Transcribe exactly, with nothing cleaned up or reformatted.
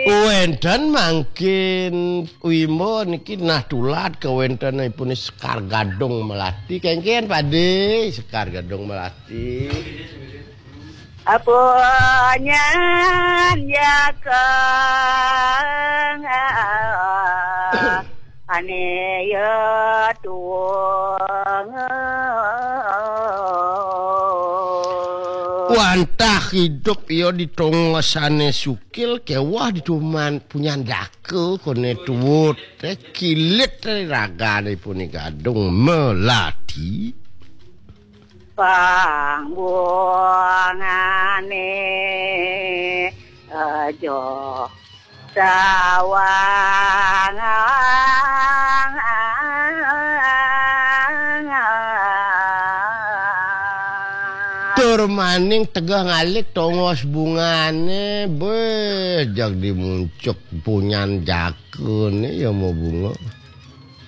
Wénten mangkin Wimbo niki nah tulad kawéntenanipun Sekar Gadung Melati. Kéngkén Pade, Sekar Gadung Melati. Apunyan jakeng ané ya tuwung. Wantah idup iya di tongos ané sukil kéweh di tuman punyan jaka koné tuwut. Té kilit té ragané punika Gadung Melati. Pangbungané aja sawang. Tur maning tegeh ngalih tongos bungané, béh, jag dimuncuk punyan jakané ya mau bunga.